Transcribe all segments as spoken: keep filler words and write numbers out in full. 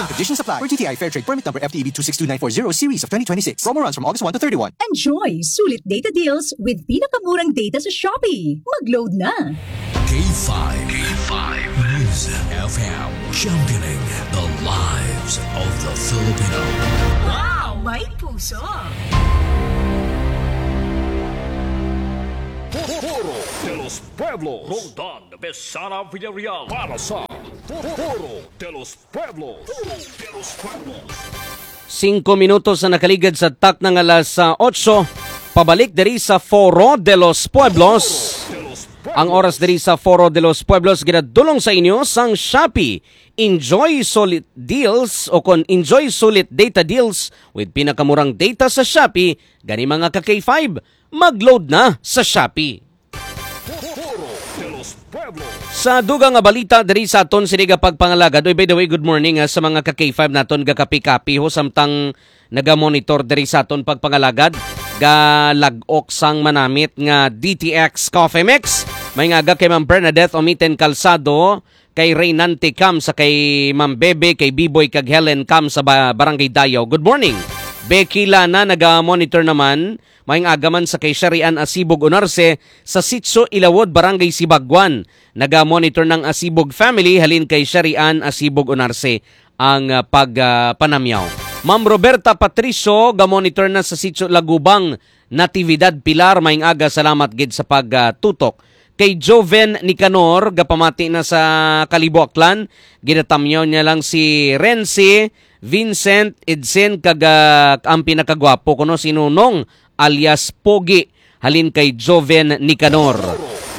Conditions apply. For G T I Fair Trade Permit Number F T E B two six two nine four zero series of twenty twenty-six. Promo runs from August one to thirty-one. Enjoy sulit data deals with pinakamurang data sa Shopee. Mag-load na! K five. K five News F M, championing the lives of the Filipino. Wow! May puso! Foro de los Pueblos. Roldan Besana Villarreal para sa Foro de los Pueblos. Foro de los Pueblos. Singko minutos na nakaligad sa takna nga alas, ah, otso. Pabalik diri sa Foro de los Pueblos. Ang oras diri sa Foro de los Pueblos ginadulong sa inyo sang Shopee. Enjoy sulit deals o kon enjoy sulit data deals with pinakamurang data sa Shopee. Gani, mga ka K five, mag-load na sa Shopee. Sa dugang nga balita diri sa aton sini nga pagpangalagad. Oy, by the way, good morning, ah, sa mga ka K five naton, ga kapi-kapi ho, samtang naga-monitor diri sa aton pagpangalagad. Ga lag-ok sang manamit nga D T X Coffee Mix. May nga aga kay Ma'am Bernadette Omiten Calzado, kay Reynante Cam, sa kay Ma'am Bebe, kay Biboy kag Helen Cam sa ba-, Barangay Dayaw. Good morning. Becky Lana, naga-monitor naman. Maayong aga man sa kay Sharian Asibog Unarse sa Sitio Ilawod, Barangay Sibagwan. Naga-monitor ng Asibog family halin kay Sharian Asibog Unarse ang, ah, pag, ah, panamyaw. Ma'am Roberta Patricio, ga-monitor na sa Sitio Lagubang, Natividad Pilar. Maayong aga, salamat gid sa pagtutok. Kay Joven Nicanor, gapamati na sa Kalibo, Aklan. Ginatamyaw niya lang si Renzi, Vincent, Edsen, kag, ah, ang pinakagwapo kuno si Nonong alias Pogi, halin kay Joven Nicanor.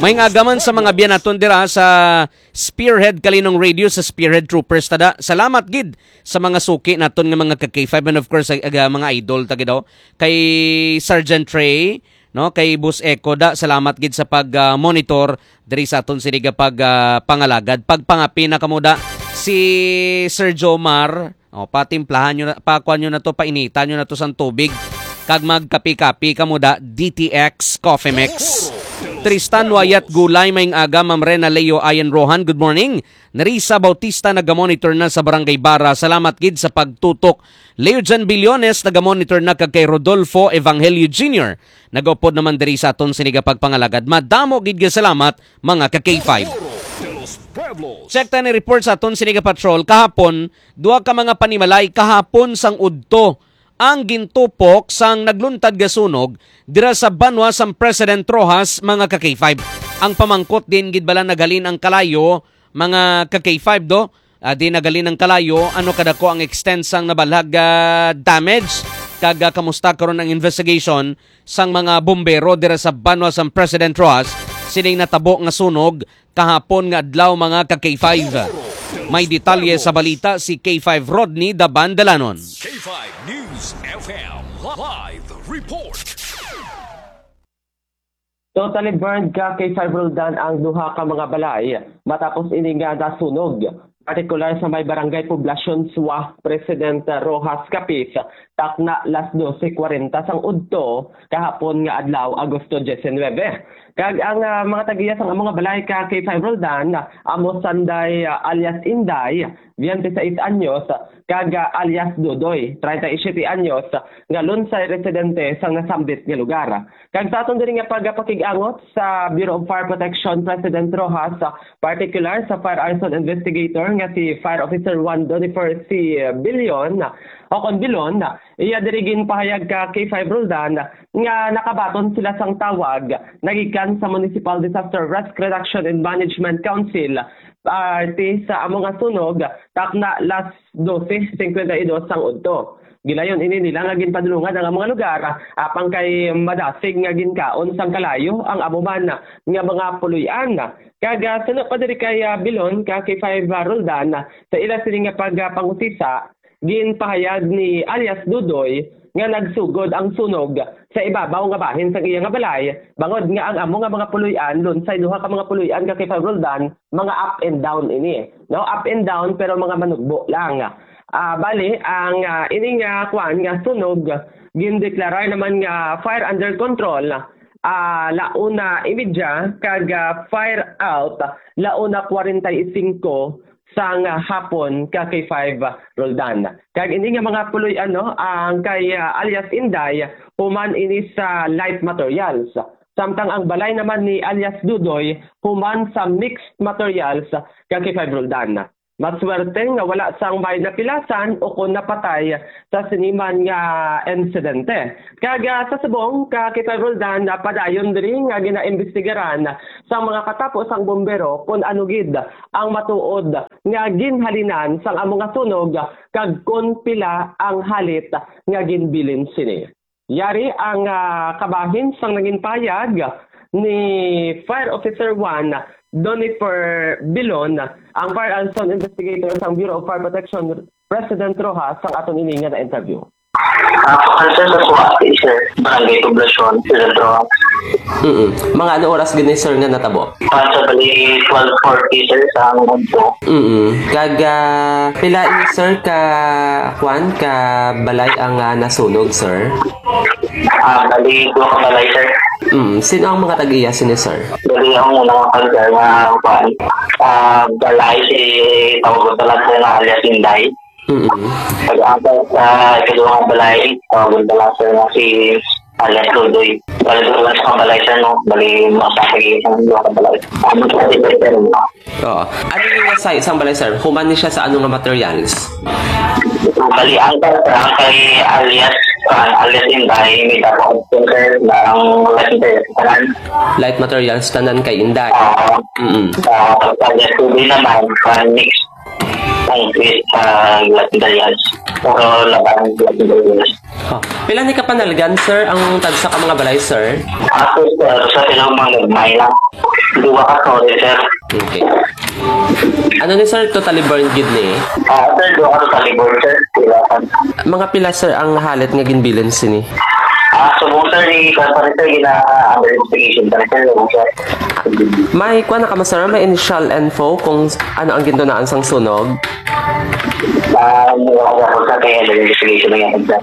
Maayong aga man sa mga biya naton dira sa Spearhead Kalinong Radio, sa Spearhead Troopers, tada. Salamat gid sa mga suki naton nga mga ka K five, and of course, ag-, ag-, mga idol, ta gid, oh. Kay Sergeant Trey, no, kay Boss Echo, da, salamat gid sa pag, ah, monitor diri sa aton sini nga pag, ah, pangalagad. Pagpangapi na kamo da, si Sir Jomar, oh, patimplahan nyo na, pakuan nyo na to, painitan nyo na to sang tubig, kag magkapi-kapi kamo da, D T X Coffee Mix. Tristan Wayat Gulay, maayong aga, Ma'am Rena Leo Ayan Rohan, good morning. Nerissa Bautista, naga-monitor na sa Barangay Bara. Salamat gid sa pagtutok. Leo Jan Billones, naga-monitor na, kag kay Rodolfo Evangelio Junior, nagaupod naman diri sa aton sini nga pagpangalagad. Madamo gid nga salamat, mga ka K five. Check ta ni report sa aton sini nga patrol. Kahapon, duha ka mga panimalay kahapon sang udto ang gintupok sang nagluntad nga sunog dira sa banwa sang President Roxas, mga ka K five. Ang pamangkot, diin gid bala naghalin ang kalayo, mga ka K five, do? Ah, diin naghalin ang kalayo, ano kadako ang extent sang nabalhag, ah, damage, kag, ah, kamusta karon ang investigation sang mga bombero dira sa banwa sang President Roxas sining natabo nga sunog kahapon nga adlaw, mga ka K five. May detalye sa balita si K five Rodney Daban Dalanon. K five News F M live report. Totally burned ka K five Roldan ang duha ka mga balay matapos ini nga nasunog, partikular sa may Barangay Poblacion Suwa, President Roxas, Capiz, takna las doce cuarenta sang udto kahapon nga adlaw, Agosto diecinuebe. Kag ang, ah, mga tag-iya sang amo nga balay ka K five Roldan, amo Sanday, ah, alias Inday, twenty-six anyos, kag, ah, alias Dudoy, treinta y siete anyos, nga lunsay residente sang nasambit nga lugar. Kag sa aton diri nga pagpakig-angot sa Bureau of Fire Protection, President Roxas, ah, partikular sa fire arson investigator nga si Fire Officer one Donifer C. Billion, o kon Bilon, iya diri ginpahayag ka K five Roldan nga nakabaton sila sang tawag nagikan sa Municipal Disaster Risk Reduction and Management Council, parte sa amo nga sunog, takna las doce cincuenta y dos sang udto. Gilayon ini nila nga ginpadulungan ang mga lugar, apang kay madasig nga ginkaon sang kalayo ang amo man nga mga puloy-an. Kag, ah, suno pa diri kay, ah, Bilon, ka K five Roldan, sa ila sini nga pagpangusisa, ginpahayag ni alias Dudoy nga nagsugod ang sunog sa ibabaw nga bahin sang iya nga balay, bangod nga ang amo nga mga puloy-an, lunsay duha ka mga puloy-an ka K five Roldan, mga up and down ini. No, up and down, pero mga manugbo lang. Ah, bali, ang, ah, ini nga kuan nga sunog, gindeklarar naman nga fire under control, ah, la una y media, kag, ah, fire out, la una cuarenta y cinco, sang hapon ka K five Roldan. Kag ini nga mga puloy-an, no, ang kay, ah, alias Inday, human ini sa Light Materials. Samtang ang balay naman ni alias Dudoy, human sa Mixed Materials ka K five Roldan. Maswerte nga wala sang may napilasan o kon napatay sa sini man nga insidente. Kag, ah, sa subong ka K five Roldan, ah, padayon diri nga ginaimbestigaran sang mga katapo sang bumbero kon ano gid ang matuod nga ginhalinan sang amo nga sunog kag kon pila ang halit nga ginbilin sini. Yari ang, ah, kabahin sang nangin payag ni Fire Officer one, Donifer Bilon, ang firearms investigator sang Bureau of Fire Protection, President Roxas, sang aton ini nga na-interview. Ah, answer sa suwati, sir. Barangay Poblacion, President Roxas. Mm. Mga ano oras gani, sir, nga natabo? Ah, sa bali, twelve forty, sir, sa ang udto. Mm. Kag, ah, pila ini, sir, ka, kwan, ka balay ang, ah, nasunog, sir? Ah, bali, duha ka balay, sir. Mm. Sino ang mga tag-iya sini, sir? Bali, ang una nga, sir, nga, kwan, ah, balay, si, tawag ko talaga, sir, nga alias Inday. Mm. Pag-abot sa ikaduhang balay, tawagon pa lang, sir, nga si alias Ludoy. Bali, doon lang sa balay, sir, no? Bali, mga sa kag-iisang duha ka balay. Ano sa balay, sir, no? Oo. Ano yung sa isang balay, sir? Human ni siya sa ano nga materials? Bali, ang, sir, ang kay alias, ah, alias Inday, may tapos, sir, na ang license, sir, kanan. Light materials, tanan kay Inday. Ah, Mm. ah, pag alias Ludoy naman, ah, mix ang, ah, Las Medallas. Pero laban Las Medallas. Oh. Pila ni kapanalgan, sir, ang tagsa ka mga balay, sir? Ako, sir, sa silang mga gagmay lang. Duwa ka, sorry, sir. Okay. Ano ni, sir, totally burned gid ni? Ah, sir, duwa ka totally burned, sir. Sila, sir. Mga pila, sir, ang halit nga ginbilin sini? Ah, subong, sir, ni, sir, gina-under investigation pa rin, sir. May kuha na ka, sir? May initial info kung ano ang gintunaan sang sunog? Ah, wala ko, sir, kaya nag-investigation na yan, sir.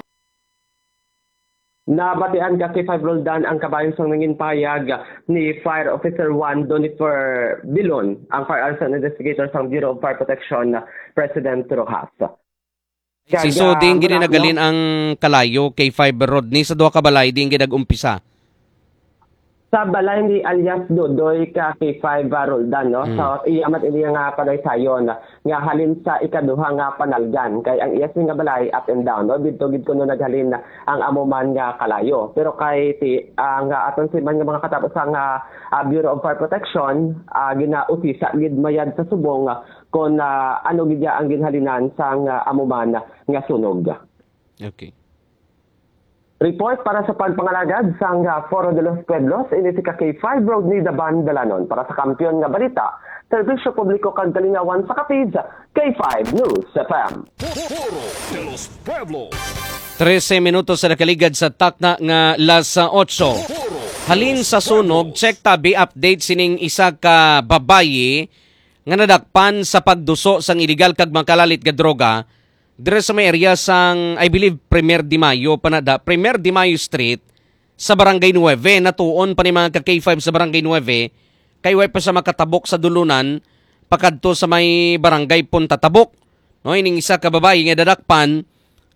Nabatian ka, K five Roldan, ang kabahin sang nangin payag ni Fire Officer one, Donifer Bilon, ang firearms investigator sang Bureau of Fire Protection, President Roxas. Si Kag, Suding ah, gid mura- nagalin ang kalayo kay Five Rodney sa duha ka balay, diin gid nag-umpisa. Sa balay ni alias Dodoy ka K five, ah, Roldan, no? Mm. So, iya man ini nga panaysayon nga halin sa ikaduha nga panalgan, kay ang iya sini nga balay up and down, no? Didto gid kuno naghalin ang amo man nga kalayo. Pero kay ti-, ang, ah, aton si man nga mga katapo sa nga, ah, Bureau of Fire Protection, ah, ginausisa gid mayad sa subong, ah, kon, ah, ano gid ang ginhalinan sang, ah, amo man nga sunog. Okay. Report para sa pagpangalagad sang, ah, Foro de los Pueblos, ini si ka K five Rodney Daban Dalanon. Para sa Kampiyon nga Balita, Serbisyo Publiko kag Kalingawan sa Capiz, K five News F M. Foro de los Pueblos. Trese minutos sa nakaligad sa takna nga las otso. Halin sa sunog, check tabi update sining isa ka babayi nga nadakpan sa pagduso sang iligal kag makalalit nga droga diri sa may area sang, I believe, Primer de Mayo pa na da, Primer de Mayo Street sa Barangay Nueve. Natuon pa ni mga ka K five sa Barangay Nueve kay way pa sa makatabok sa dulunan pakadto sa may Barangay Punta Tabok. No, ining isa ka babayi nga dadakpan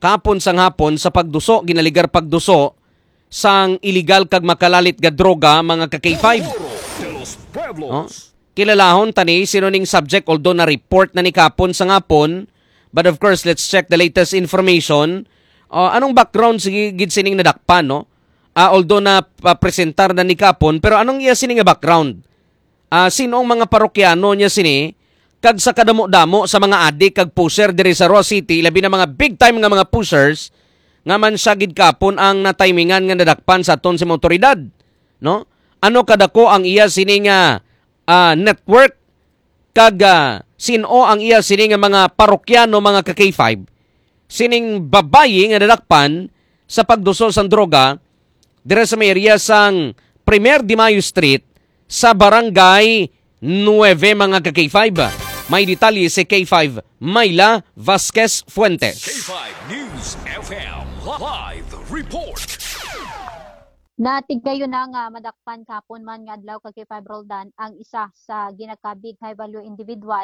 kahapon sang hapon sa pagduso, ginaligar pagduso sang iligal kag makalalit nga droga, mga ka K five. No? Kilalahon tani sino ning subject, although na-report na ni kahapon sang hapon. But of course, let's check the latest information. Ah, anong background sige gid sining nadakpan, no? Ah, although na, ah, presentar na ni kahapon, pero anong iya sini nga background? Ah, sino ang mga parokyano niya sini? Kag sa kadamo-damo sa mga adik kag pusher diri sa Roxas City, labi na mga big time nga mga pushers, nga man siya gid kahapon ang natimingan nga nadakpan sa aton sa mga awtoridad, no? Ano kadako ang iya sini nga, ah, network? Kag, ah, sin-o ang iya sini nga mga parokyano, mga ka K five? Sining babayi nga nadakpan sa pagduso sang droga dira sa may area sang Primer de Mayo Street sa Barangay Nueve, mga ka K five. May detalye si K five Myla Vasquez Fuentes. K five News F M, live report. Natigayon na nga madakpan kahapon man nga adlaw ka K five Roldan ang isa sa ginakabig high value individual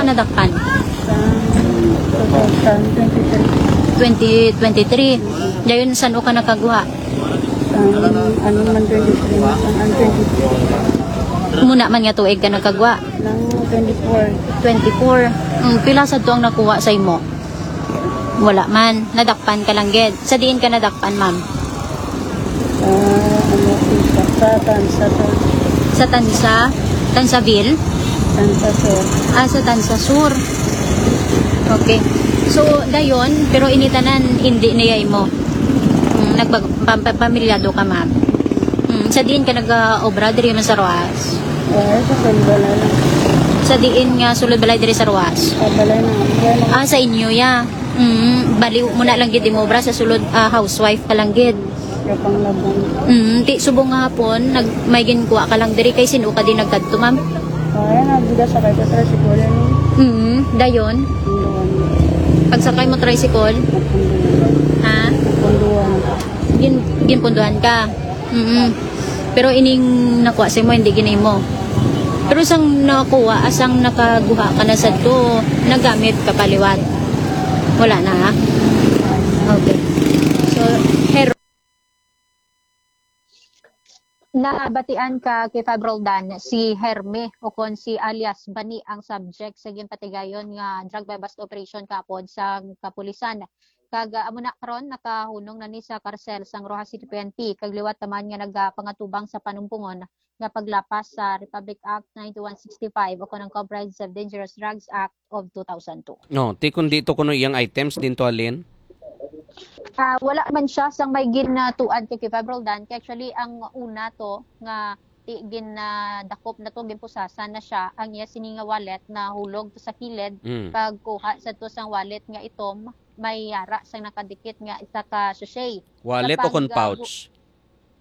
ka nadakpan? Sa two thousand twenty-three. Twenty twenty-three. Dayon, san-o ka nakaguha? Sa, ano man, twenty-three na, ang, ang twenty-three. Muna man nga tuig ka nagkagwa? Nang twenty-four. Twenty-four. Mm, pila sad to ang nakuha sa imo? Wala man. Nadakpan ka lang gid. Sa diin ka nadakpan, ma'am? Sa, ano, sa, sa Tansa, sa Sa Tansa? Tansaville? Tansa, sir. Ah, sa Tansa Sur. Okay. So, dayon, pero ini tanan, hindi niya imo. Mm, nagpag-, pam-, pam-, pamilyado ka, ma'am. Mm, sa diin ka nag-obra diri man sa Roxas? Wala, sa San Balay lang. Sa diin nga sulod balay diri sa Roxas? Sa balay na. Wala na. Ah, sa inyo, ya. Mm, bali mo na lang gid mo obra sa sulod, ah, housewife ka lang gid. Yung panglabong. Mm, ti subong nga hapon, nag, may ginkuha ka lang diri kay sino ka din nagkadto, ma'am? Ay, nagbigas sa kay Petra, siguro yun. Mm, dayon. Punduan. Pagsakay mo tricycle? Punduan. Ha? Punduan. Gin-, ginpunduhan ka? Mm. Pero ining nakuha sa imo, hindi gini mo. Pero sang nakuha, asang nakaguha ka na sadto, nagamit ka pa liwat? Wala na, ha? Okay. So, her- Nabatian ka kay Fab Roldan, si Herme o kon si alias Bani ang subject sa ginpatigayon nga drug buy-bust operation kahapon sa kapulisan. Kag, ah, amo na karon nakahunong na ni sa karsel sang Roxas City P N P, kag liwat naman nga nagapangatubang sa panumpungon nga paglapas sa Republic Act ninety-one sixty-five o kon ang Comprehensive Dangerous Drugs Act of two thousand two. No, ti kundi to kuno iyang items din to, Alin? Ah, wala man siya sang may ginatuad kay Fab Roldan. Kay actually, ang una to nga ti-, ginadakop na to, ginpusasan na siya, ang iya sini nga wallet na hulog to sa kilid, Mm. kag kuha sa to sang wallet nga itom, may yara sang nakadikit nga isa ka sachet. Wallet Sa o kon pag, ah, pouch?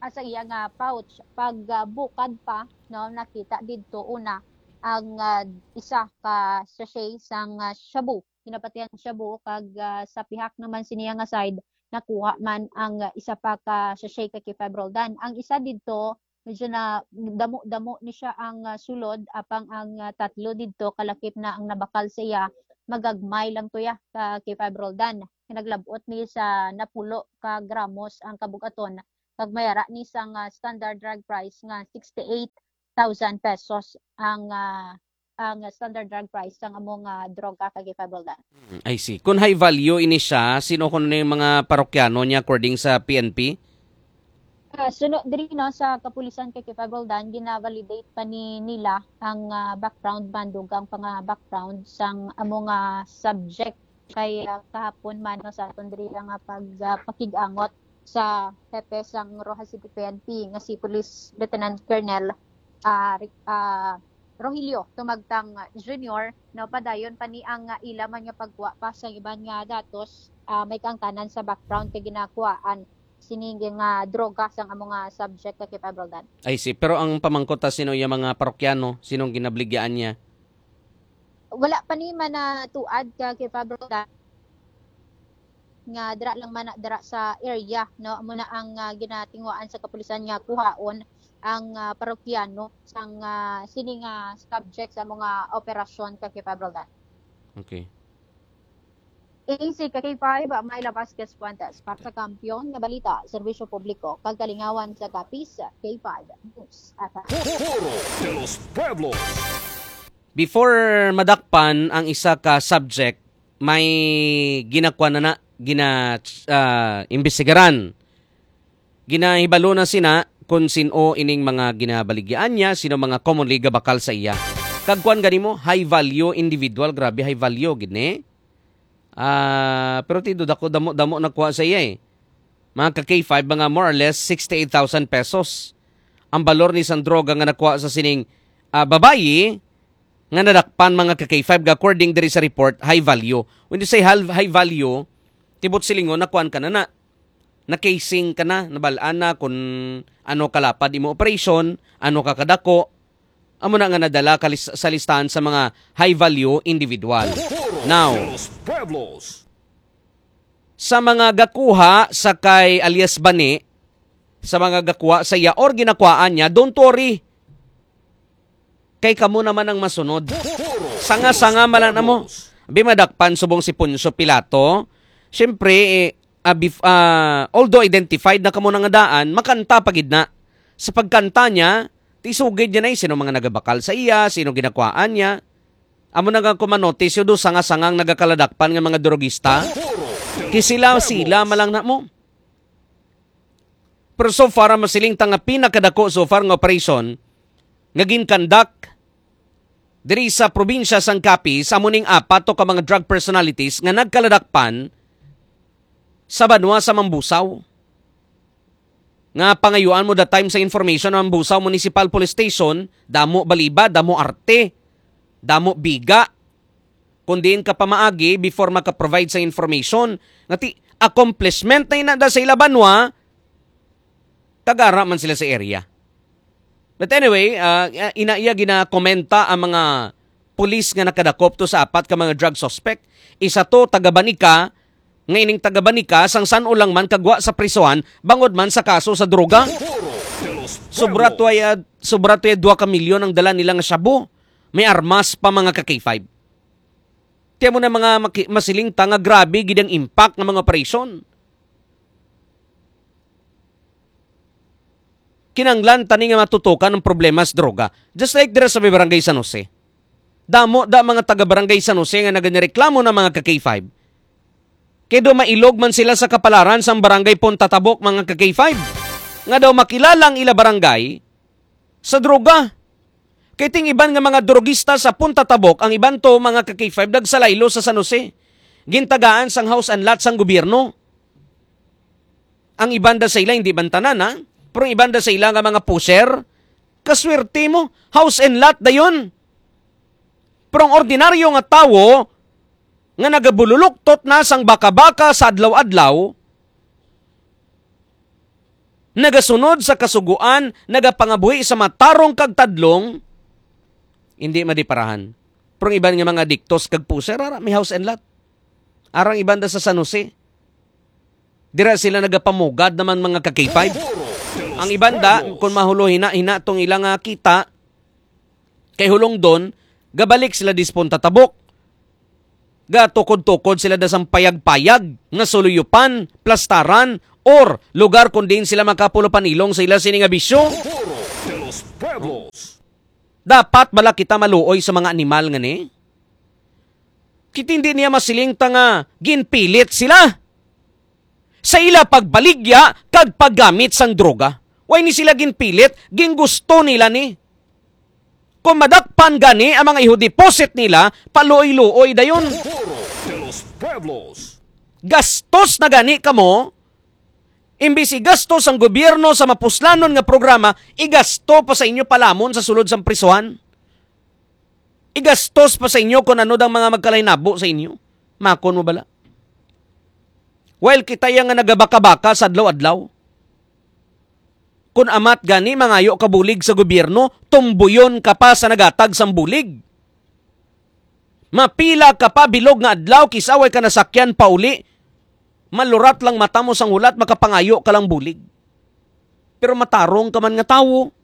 ah, sa iya nga pouch. Pag, ah, bukad pa, no, nakita didto una ang, ah, isa ka sachet sang, ah, shabu. Ginapatihan shabu kag, ah, sa pihak naman siniya nga side, nakuha man ang, ah, isa pa ka sachet ka K five Roldan. Ang isa didto, medyo na damo-damo ni siya ang, ah, sulod, apang ang, ah, tatlo didto kalakip na ang nabakal sa iya, magagmay lang to ya ka K five Roldan. Naglab-ot ni sa napulo ka gramos ang kabug-aton, kag may ara ni sang, ah, standard drug price nga sixty-eight thousand pesos ang, ah, ang standard drug price sang amo nga droga ka K five Roldan. Hmm, I see. Kung high value ini siya, sino kuno ni mga parokyano niya according sa P N P? Ah, suno diri, no, sa kapulisan ka K five Roldan, gina-validate pa ni nila ang, ah, background, mandugang pa nga background sang amo nga subject kay, ah, kahapon man, no, sa aton diri nga pag, ah, pakig-angot sa hepe sang Roxas City P N P nga si Police Lieutenant Colonel, ah, Ric-, ah, Rogelio Tumagtang Junior, no, padayon pa ni ang, ah, ila man nga pagkuha pa sa iban nga datos, ah, may kaangtanan sa background kay ginakuhaan sini nga droga sang amo nga subject ka K five Roldan. I see. Pero ang pamangkot ta, sino iya mga parokyano? Sinong ginabaligyan niya? Wala pa ni man natuad ka K five Roldan nga dira lang man na, dira sa area, no? Amo na ang, ah, ginatinguhaan sa kapulisan nga kuhaon ang, ah, parokyano sang, ah, sini nga subject sa mga operasyon ka K five Roldan. Okay. A C ka K five, Myla Vasquez Fuentes, para sa Kampiyon nga Balita, Serbisyo Publiko, kag Kalingawan sa Capiz, K five News F M. Foro de los Pueblos. Before madakpan ang isa ka subject, may ginakuan na na, gina, ah, imbestigaran. Ginahibalo na sina kung sin-o ining mga ginabaligyaan niya, sino mga commonly gabakal sa iya. Kag kuan gani mo, high value individual, grabe, high value gid ni. Ah, pero ti, dako, damo-damo nakuha sa iya, eh. Mga ka K five, mga more or less sixty-eight thousand pesos ang balor ni sang droga nga nakuha sa sining, ah, babayi nga nadakpan, mga ka K five, ga according diri sa report, high value. When you say hal-, high value, tibot silingon, nakuan ka na na. Na-casing ka na, nabal-an na kung ano kalapad imo operation, ano ka kadako. Amo na nga nadala ka lis-, sa listahan sa mga high value individual. Now, sa mga gakuha sa kay alias Bani, sa mga gakuha sa iya or ginakuhaan niya, don't worry. Kay kamo naman ang masunod. Sanga-sanga man lang namo. Abi, madakpan subong si Poncio Pilato. Siyempre, eh, ah, bef-, ah, although identified na kamo na nga daan, makanta pa gid na. Sa pagkanta niya, tisugid niya na, eh, sino mga nagabakal sa iya, sino ginakwaan niya. Amo na nga, kung manotis, yung doon sanga-sangang nagakaladakpan nga mga drogista. Kay sila, sila man lang na mo. Pero so far, ang masiling ta nga pinakadako so far nga operasyon nga ginkandak diri sa probinsya sang Capiz, amo ning apat to ka mga drug personalities nga nagkaladakpan sa banwa sa Mambusaw. Nga pangayuan mo that time sa information ang Mambusaw Municipal Police Station, damo baliba, damo arte, damo biga. Kung diin ka pamaagi before maka-provide sa information. Nga ti, accomplishment na ina da sa ila banwa, kag ara man sila sa area. But anyway, ah, ina iya ginakomenta ang mga pulis nga nakadakop to sa apat ka mga drug suspect. Isa to, taga Banica, nga ining taga Banica, sang san-o lang man kagwa sa prisuhan, bangod man sa kaso sa droga. Sobra to ay, ah, sobra to ay dua ka milyon ang dala nila nga shabu. May armas pa, mga ka K five. Kaya mo na mga maki-, masiling ta nga grabe gid ang impact ng mga operasyon. Kinanglan tani nga matutukan ang problema sa droga. Just like dira sa may barangay San Jose. Damo da mga taga barangay San Jose nga nagnireklamo na, mga ka K five. Kay do mailog man sila sa kapalaran sang barangay Punta Tabok, mga ka K five. Nga daw makilala ang ila barangay sa droga. Kay ting iban nga mga drogista sa Punta Tabok, ang iban to, mga ka K five, nagsalaylo sa San Jose. Gintagaan sang house and lot sang gobyerno. Ang iban da sa ila, hindi man tanan, ha? Pero ang iban da sa ila nga mga pusher, kaswerte mo, house and lot dayon. Pero ang ordinaryo nga tawo nga nagabululuktot na sang baka-baka sa adlaw-adlaw, nagasunod sa kasugoan, nagapangabuhi sa matarong kag tadlong, hindi madiparahan. Pero ang iban nga mga adiktos kag pusher, ara, may house and lot. Arang iban da sa San Jose. Dira sila nagapamugad naman, mga ka-K five. Ang iban da, kung mahulo hina-hina tong ilang, ah, kita, kay hulong don, gabalik sila dispon tatabok. Gatukod-tukod sila da sang payag-payag nga suluyupan, plastaran, or lugar kun diin sila makapulo panilong sa ila sini nga bisyo. Dapat bala kita maluoy sa mga animal nga ni? Kita hindi niya masiling ta nga ginpilit sila sa ila pagbaligya kag paggamit sang droga. Way ni sila ginpilit, gingusto nila ni. Kung madakpan gani ang mga iho deposit nila, paluoy-luoy dayon. Gastos na gani kamo, imbis igastos ang gobyerno sa mapuslanon nga programa, igasto pa sa inyo palamon sa sulod sang prisuhan. Igastos pa sa inyo kung ano dang mga magkalainabo sa inyo. Makon mo bala? While kita ya nga nagabaka-baka sa adlaw-adlaw. Kun amat gani mangayo ka bulig sa gobyerno, tumbuyon ka pa sa nagatag sang bulig. Mapila ka pa bilog nga adlaw, kis-a way ka nasakyan pauli. Malurat lang mata mo sang hulat, makapangayo ka lang bulig. Pero matarong ka man nga tawo.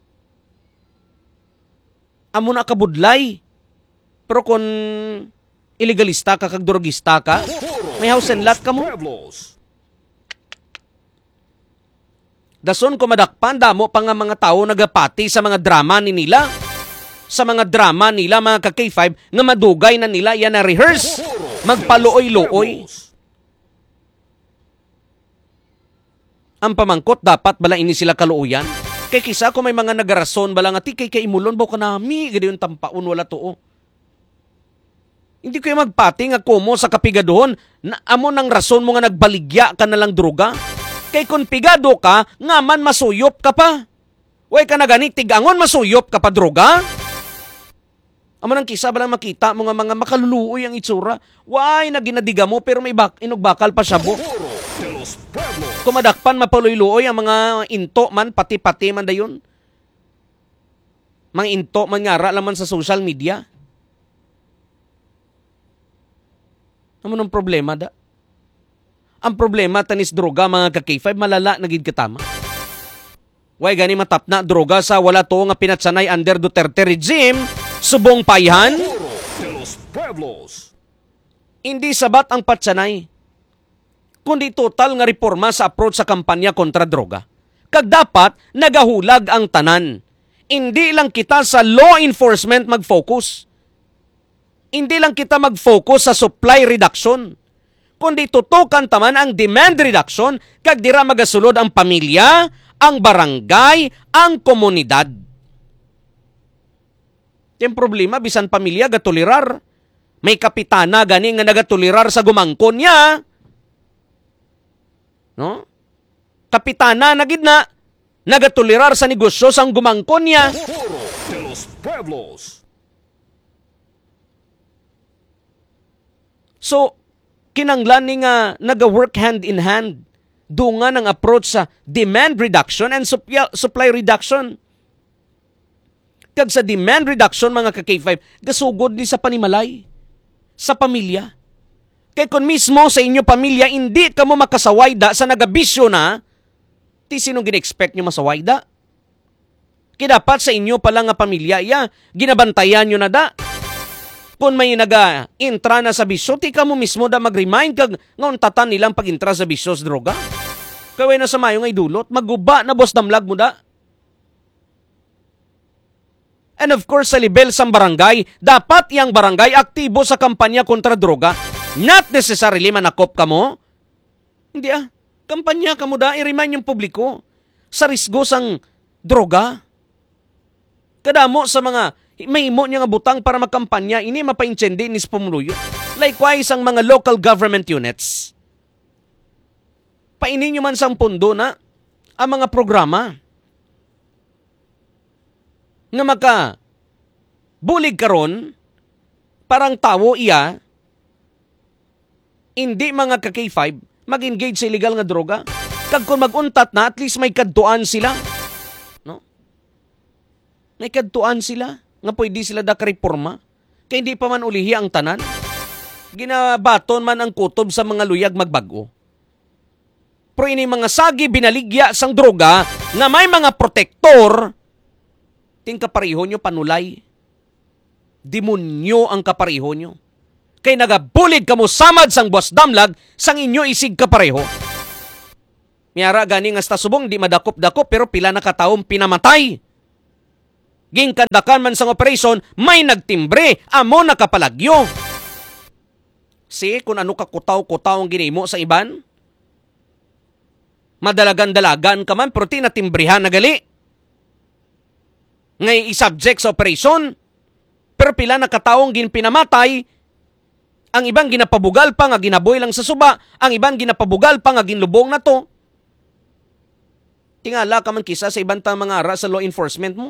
Amo na kabudlay. Pero kung ilegalista ka kag drugista ka, may house and lot ka mo. Dason ko madakpan, damo pa nga mga tawo nagapati sa mga drama ni nila. Sa mga drama nila, mga ka-K five, nga madugay na nila yan na-rehearse. Magpaluoy-luoy. Ang pamangkot, dapat bala ini sila kaluoyan? Kay kisa ko may mga nagarason bala nga, "Ti, kay kaimulon ba ko nami, gadi yung tampaon, wala tuo." Hindi ko yung magpati nga kumo sa kapigaduhon, na amo nang rason mo nga nagbaligya ka na lang droga. Kay kung pigado ka, nga man masuyop ka pa. Way ka na gani, tig-angon masuyop ka pa droga? Amo nang kisa bala makita mo nga mga makaluluoy ang itsura. Way na ginadiga mo, pero may bak-, inugbakal pa siya, bo. Kung madakpan, mapaluy-luoy ang mga into man, pati-pati man dayon. Mga into man nga ara lang man sa social media. Amo nang problema, da. Ang problema, tanis droga, mga ka-K five, malala na gid katama. Way gani matapna droga sa wala tuo nga pinatsanay under Duterte regime, subong payhan? Hindi sabat ang patsanay, kundi total nga reporma sa approach sa kampanya kontra droga. Kag dapat nagahulag ang tanan. Indi lang kita sa law enforcement mag-focus. Indi lang kita mag-focus sa supply reduction, kundi tutukan ta man ang demand reduction, kag dira magasulod ang pamilya, ang barangay, ang komunidad. Yung problema, bisan pamilya gatolerar. May kapitana gani nga nagatolerar sa gumangkon niya. No? Kapitana na gid na, nagatolerar sa negosyo sang gumangkon niya. So, kinanglan ni nga naga-work hand in hand dungan ang approach sa demand reduction and supya-, supply reduction. Kag sa demand reduction, mga ka-K five, gasugod ni sa panimalay, sa pamilya. Kay kun mismo sa inyo pamilya, indi kamo makasawayda sa nagabisyo na, ti sino gin-expect nyo masawayda? Kay dapat sa inyo pala nga pamilya, iya, ginabantayan nyo na da. Kung may naga-intra na sa bisyo, ti kamo mismo da mag-remind kag nga untatan nilang pag-intra sa bisyo sa droga. Kay way na sa mayo nga idulot, maguba na, boss, damlag mo da. And of course, sa level sang barangay, dapat yang barangay aktibo sa kampanya kontra droga. Not necessarily manakop kamo. Hindi, ah. Kampanya kamo da, i-remind yung publiko sa risgo sang droga. Kadamo sa mga mahimo niya nga butang para makampanya, ini mapaintindi ni sa pumuluyo. Likewise, ang mga local government units. Paini nyo man sang pundo na ang mga programa nga makabulig karon para ang tawo iya, hindi, mga ka-K five, mag-engage sa illegal nga droga. Kag kung mag-untat na, at least may kadtuan sila. No? May kadtuan sila nga pwede sila dakareporma. Kay hindi pa man ulihi ang tanan. Ginabaton man ang kutob sa mga luyag magbag-o. Pero ini mga sagi binaligya sang droga nga may mga protektor, ting kapareho nyo panulay. Demonyo ang kapareho nyo. Kay nagabulig kamo samad sang buwas damlag sang inyo isig kapareho. May ara gani nga hasta subong di madakop-dakop, pero pila na ka tawo ang pinamatay. Ginkandakan man sang operasyon, may nagtimbre, amo nakapalagyo. Si, kung ano ka kutaw-kutaw ang ginimo sa iban? Madalagan-dalagan ka man, pero tinatimbrehan na gali. Ngay i-subject sa operasyon, pero pila na ka tawo ang ginpinamatay, ang iban ginapabugal pa nga ginaboy lang sa suba, ang iban ginapabugal pa nga ginlubong na to. Tingala ka man kisa sa iban tang mga ara sa law enforcement mo.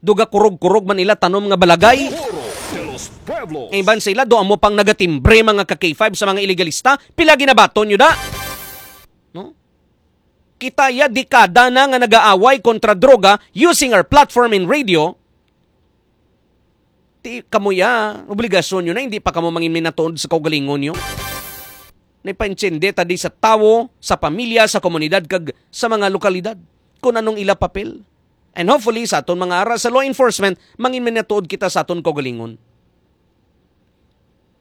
Duga kurog-kurog man nila tanom nga balagay. Foro de los Pueblos. Ang iban sila, do amo pang nagatimbre mga ka K five sa mga ilegalista. Pila ginabaton nyo da? No? Kita ya dekada na nga nagaaway kontra droga using our platform in radio. Ti, kamo ya, obligasyon nyo na, hindi pa kamo mangin minatuod sa kaugalingon nyo. Naipaintindi ta di sa tawo, sa pamilya, sa komunidad, kag sa mga lokalidad kung anong ila papel. And hopefully, sa aton mga ara sa law enforcement, mangin minatuod kita sa aton kaugalingon.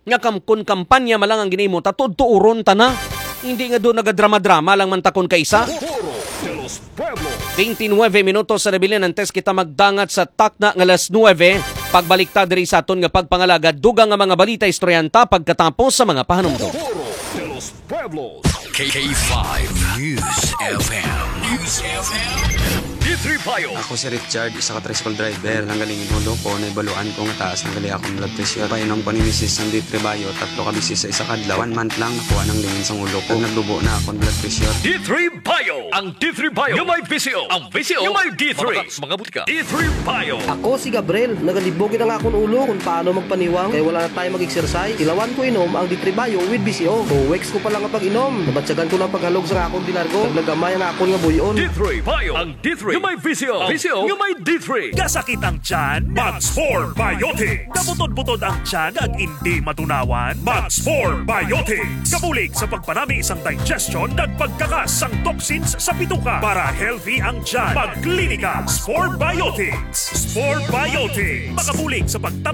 Nga kam-, kun kampanya man lang ang ginimo, ta tuod-tuuron ta na. Hindi nga doon nagadrama-drama lang man ta kun kaisa. Foro de los Pueblos. Twenty-nueve minutos sa nabilin, antes kita magdangat sa takna nga alas nuebe. Pagbalik ta diri sa aton nga pagpangalagad, dugang nga mga balita, istoryahan ta pagkatapos sa mga pahanumdom. Foro de los Pueblos. K five News F M. News F M. D three Bio. Ako si Richard, isa ka tricycle driver. Nanggaling in ulo ko, naibaluan ko nga taas na gali akong blood pressure. Painom ko ni misis sang D three Bio, tatlo ka beses sa isa ka adlaw. One month lang, nakuha nang lingin sang ulo ko. Nagdubo na akong blood pressure. D three Bio. Ang D three Bio nga may V C O. Ang V C O nga may D three. Mabakak sa mga butika. D three Bio. Ako si Gabriel. Nagalibog ang akon ulo kung paano magpaniwang kay wala na tayo mag-exercise. Ilawan ko inom ang D three Bio with V C O. Two weeks ko pa lang ang pag-inom. Nabatyagan ko ng paghalog sa akon dilargo. Naglagamay ang akon nga buyon. D three Bio. Ang D three nga may V C O. V C O nga may D three. Kasakit ang tiyan? Mag Spore Biotics. Kabutod-butod ang tiyan kag indi matunawan? Mag Spore Biotics. Kabulig sa pagpanami sang digestion kag pagkakas sang toxins sa bituka para healthy ang tiyan. Magklinika Spore Biotics. Spore Biotics. Makabulig sa pagtap-